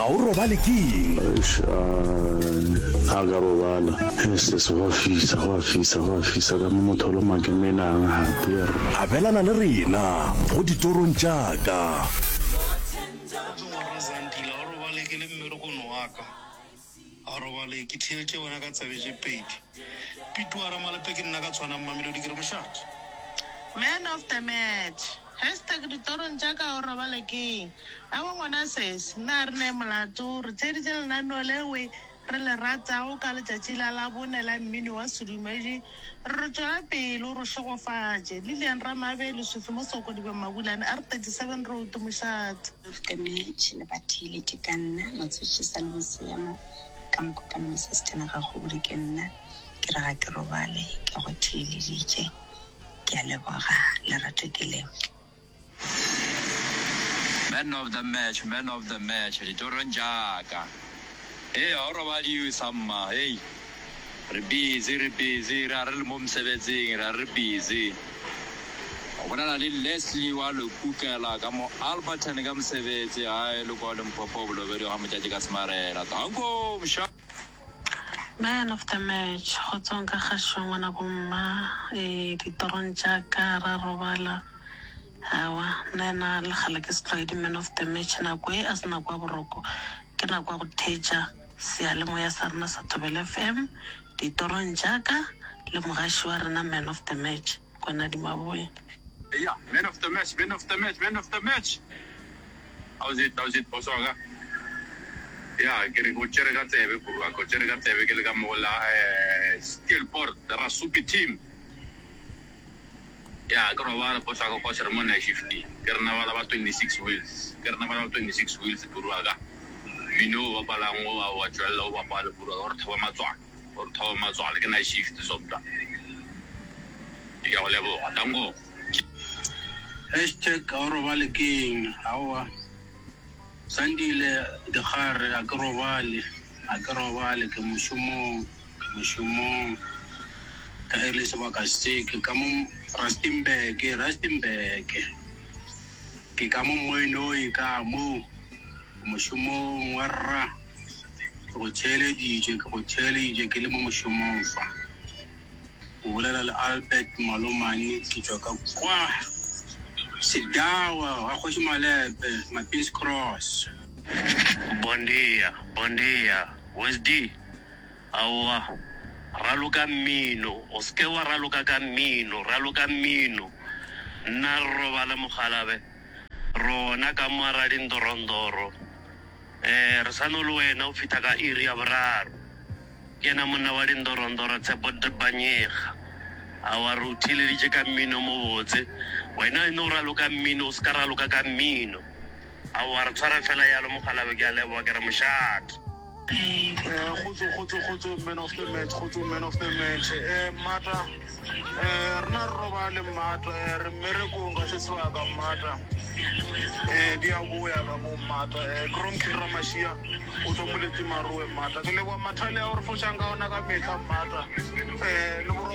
o robale ke eng? Eish, a ka robala. Sis, go a fisa, go a fisa, go a fisa ka mo motho o loma ke menang gape yerr. Abelana le rena go ditorong tša ka. Kgotso ngwana Zandile, ga o robale ke le mmerekong wa ka. Ga o robale ke theetše wena ka tsebe tše pedi. Pituara Malepe ke nna ka tshwanang Mamelodi ke re mošate. Man of the match. Hashtag ditorong tša ka o robale keng? Aowa ngwana sesi, nna ga re ne molato, re theeditše lenaneo lewe re le ratago ka letšatši la Labone la mmino wa sedumedi. Re re tšwela pele o re šegofatše. Lilian Ramabe, Leswifi mo Sokodibeng Mabulane, R37 Road, Mošate. Of the match le ba theeletše ka nna Motswetši Salome Seema ka Mokopane mo Sesthena ga Kgobodi ke nna ke re ga ke robale ke go theeleditše ke a leboga lerato ke le. Man of the match, man of the match, ditorong tša ka. Hei, ga o robadiwe samma, hei. Re busy, re busy, ra re le mo mosebetsing, ra re busy. O bolela le Leslie wa Lekukela ka mo Alberton ka mosebetsi, gae le kwa Limpopo Bolobedu ga Motšatši ka Semarela. Danko, msha. Man of the match, kgotsong ka kgašo ngwana bo mma, ee ditorong tša ka ra robala, aowa nna le kgale ke setlwaedi man of the match, nako e a se nako ya boroko ke nako ya go theetša seyalemoya sa rena sa Thobela FM, ditorong tša ka le mogaši wa rena man of the match Kwanadi Maboya. Eya, man of the match, man of the match, man of the match. How's it, how's it, boss wa ka? Ya, ke re o tšere ka tsebe, bro wa ka, o tšere ka tsebe ke le ka mo la eh, Steelpoort, Rasupi team. Ya, ke robala boss wa ka cause re mo night shift-ing. Ke rena bala ba 26 wheels, ke rena bala ba 26 wheels, bro wa ka. Mmino o bapalang o wa wa tšwelela o bapale, bro wa ka, o re thoba matswalo, o re thoba matswalo, ke night shift sobda. Ke a go leboga, danko. Hashtag ga o robale ke eng? Aowa Sandile Dikgare a ke robale, a ke robale ke mošomong, ke mošomong ka ge e le sebaka se ke ka mo Rustenburg, Rustenburg ke ka mo Mooinooi ka mo ke mošomong warra ke go theeleditše, ke go theeleditše ke le mo mošomong fa. O bolela le Albert Malomane ke tšwa ka kwa Sedawa ga Kgoši Malepe, Mapins Cross. Bon dia, bon dia, Wesdi. Aowa, raloka mmino. O se ke wa raloka ka mmino, raloka mmino. Nna re robale mokgalabe, rona ka mo Radindorondoro. Eh, re sa no le wena o fihla ka iri ya boraro. Ke yena monna wa dindorondoro Tshepo Dbanyega. Aowa re o theeleditše ka mmino o mobotse. Wena e no raloka mmino o se ka raloka ka mmino. Aowa re tshware fela yalo mokgalabje ke a leboga ke re mošate. Kgotso kgotso kgotso man of the match kgotso man of the match eh mmata eh rena re robale mmata eh re mmerekong ka se sebaka mmata eh di a boya ka mo mmata eh Kronkin Ramashia O tšwa Moletsi Marowe Mmata. Ke leboga mathale a o re fošang ka ona ka mehla Mmata. Eh, le boroko.